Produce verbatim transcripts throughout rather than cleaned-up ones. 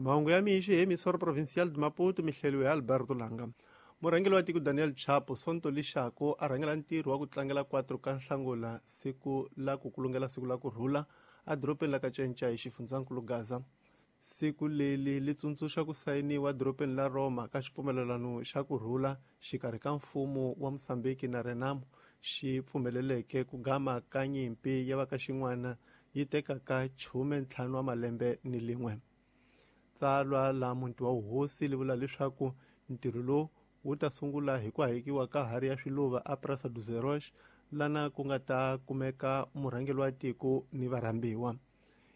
Mahungu ya mixo hi Emissora Provincial de Maputo, mihleliwe hi Alberto Langa. Murhangeri wa tiko Daniel Chapo Sonto lixako a rhangela ntirho wa ku tlangela quatro ka Nhlangula siku la ku kulungela siku la ku rhula edorobeni la ka Cinca hi xifundzankulu Gaza. Siku leri li tsundzuxa ku sayiniwa edorobeni la Roma ka xipfumelelano xa ku rhula xikarhi ka mfumo wa Mozambique na Renamo xi pfumeleleke ku gama ka nyimpi ya va ka xin'wana yi tekaka khume ntlhanu wa malembe ni lin'we. Tsalwa la muti wa vuhosi li vula leswaku ntirho lowu wu ta sungula hi ku hayekiwa ka hari ya swiluva a Praça dos Heróis lana ku nga ta kumeka murhangeri wa tiko ni varhambiwa.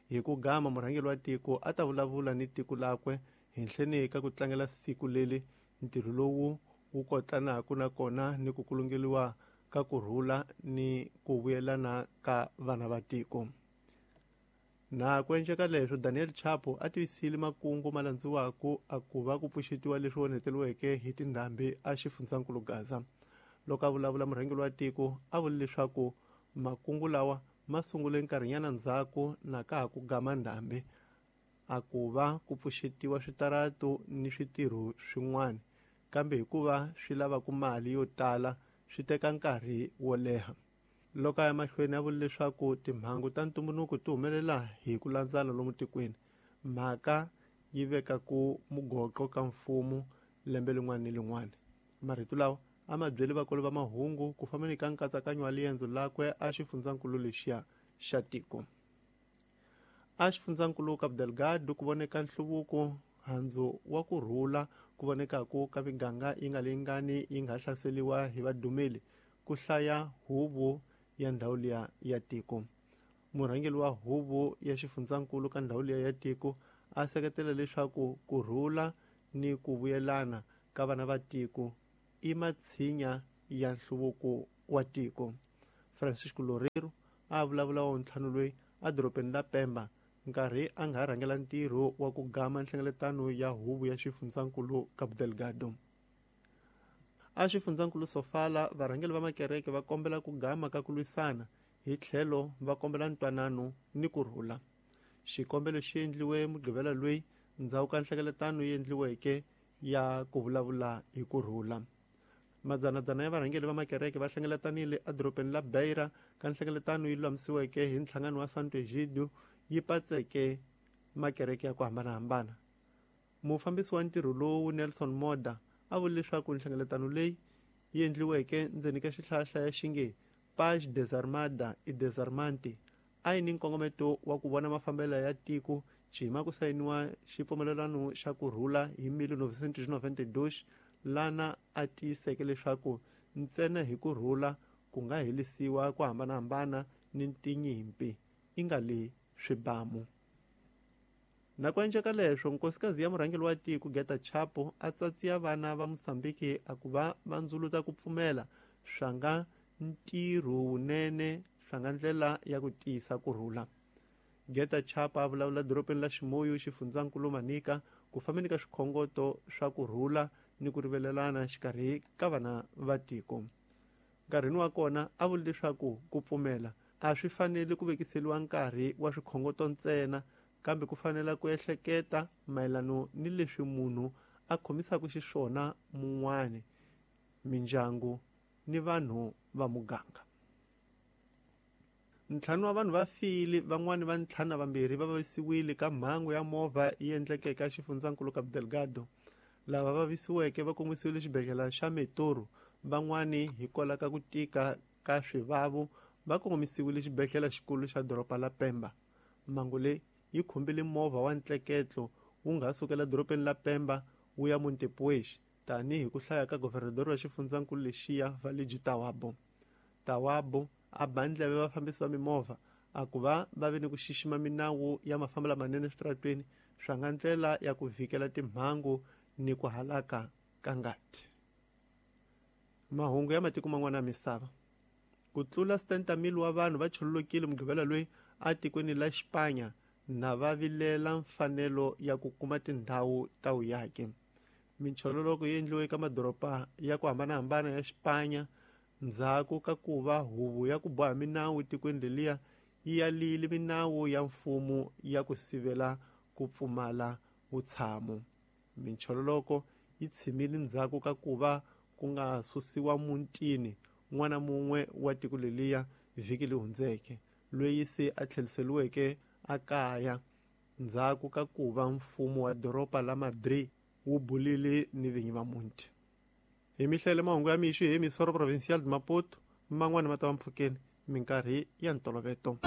Hi ku gama murhangeri wa tiko a ta vulavula ni tiko lakwe henhleni ka ku tlangela siku leri ntirho lowu wu kotlanaka na kona ni ku kulungeliwa ka ku rhula ni ku vuyelana ka vana va tiko. Na ku endleka leswo Daniel Chapo a tivisile makungu ma landziwaka a ku va ku pfuxetiwa leswi onheteriweke hi tindhambi a xifundzankulu Gaza. Loko a vulavula murhangeri wa tiko a vule leswaku makungu lawa ma sungule nkarhinyana ndzhaku na ka ha ku gama ndhambi a ku va ku pfuxetiwa switaratu ni switirho swin'wana, kambe hikuva swi lavaka mali yo tala swi teka nkarhi wo leha. Loko a ya mahlweni a vule leswaku timhangu ta ntumbuluko ti humelela hi ku landzana lomu tikweni, mhaka yi veka ku mugoqo ka mfumo lembe lin'wana ni lin'wana. Marito lawa a ma byeli vakulu va mahungu ku fambeni ka nkatsakanyo wa liendzo lakwe a xifundzankulu lexiya xa tiko. A xifundzankulu Cabo Delgado ku voneka nhluvuko handzu wa ku rhula ku vonekaku ka miganga yi nga lingani yi nga hlaseliwa hi vadumeli ku hlaya huvo ya ndhawu liya ya tiko. Murhangeri wa huvo ya xifundzankulu ka ndhawu liya ya tiko a seketela leswaku ku rhula ni ku vuyelana ka vana va tiko i matshinya ya nhluvuko wa tiko. Francisco Loureiro a vulavula wa ntlhanu loyi edorobeni la Pemba nkarhi a nga rhangela ntirho wa ku gama nhlengeletano ya huvo ya xifundzankulu Cabo Delgado. A xifundzankulu Sofala varhangeri va makereke va kombela ku gama ka ku lwisana hi tlhelo va kombela ntwanano ni ku rhula. Xikombelo xi endliwe Mugqivela loyi ndzhaku ka nhlengeletano yi endliweke ya ku vulavula hi ku rhula. Madzanadzana ya varhangeri va makereke va hlengeletanile edorobeni la Beira ka nhlengeletano yi lulamisiweke hi nhlangano wa Santo Egidio yi patseke makereke ya ku hambanahambana. Mufambisi wa ntirho lowu Nelson Moda a vule leswaku nhlengeletano leyi yi endliweke ndzeni ka xihlayahlaya xi nge Paz Desarmada e Desarmante a yi ni nkongometo wa ku vona mafambelo ya tiko cima ku sayiniwa xipfumelelano xa ku rhula hi mil novecentos e noventa e dois lana a tiyiseke leswaku ntsena hi ku rhula ku nga helisiwa ku hambanahambana ni tinyimpi i nga le swibamu. Na ku endleka leswo nkosikazi ya murhangeri wa tiko Geta Chapo a tsatsiya vana va Mozambique a ku va va ndzuluta ku pfumela swa nga ntirho wunene swa nga ndlela ya ku tiyisa ku rhula. Geta Chapo a vulavula dorobeni la Chimoio xifundzankulu Manica ku fambeni ka swikhongoto swa ku rhula ni ku rivelelana xikarhi ka vana va tiko. Nkarhini wa kona a vule leswaku ku pfumela a swi fanele ku vekiseliwa nkarhi wa swikhongoto ntsena, kambe ku fanela ku ehleketa mayelano ni leswi munhu a khomisaka xiswona mun'wani, mindyangu ni vanhu va muganga. Ntlhanu wa vanhu va file, van'wani va ntlhanu na vambirhi va vavisiwile ka mhangu ya movha yi endlekeke xifundzankulu Cabo Delgado. Lava vavisiweke va kongomisiwile xibedhlele xa Metoro, van'wani hikwalaho ka ku tika ka swivavo va kongomisiwile xibedhlele xikulu xa doroba la Pemba. Mhangu leyi yi khumbile movha wa ntleketlo wu nga sukela dorobeni la Pemba wu ya Montepuez tanihi ku hlaya ka governador wa xifundzankulu lexiya Valigi Tawabo. Tawabo a ba ndleve vafambisi va mimovha a ku va va ve ni ku xixima minawu ya mafambelo lamanene eswitaratweni swa nga ndlela ya ku vhikela timhangu ni ku halaka ka ngati. Mahungu ya matiko man'wana ya misava. Ku tlula setenta mil wa vanhu va chululukile Mugqivela loyi etikweni la Xipanya na va vilela mfanelo ya ku kuma tindhawu ta vuyaki. Minchololoko yi endliwe eka madoroba ya ku hambanahambana ya Xipanya ndzhaku ka ku va huvo ya ku boha minawu tikweni leliya yi yalile minawu ya mfumo ya ku sivela ku pfumala vutshamo. Minchololoko yi tshimile ndzhaku ka ku va ku nga susiwa mutini n'wana mun'we wa tiko leliya vhiki leyi hundzeke, loyi se a tlheriseriweke ekaya ndzhaku ka ku va mfumo wa doroba la Madrid wu bulile ni vinyi va muti. Hi mihlele mahungu ya mixo hi Emissora Provincial de Maputo, man'wana ma ta va mpfhukeni minkarhi ya ntoloveto.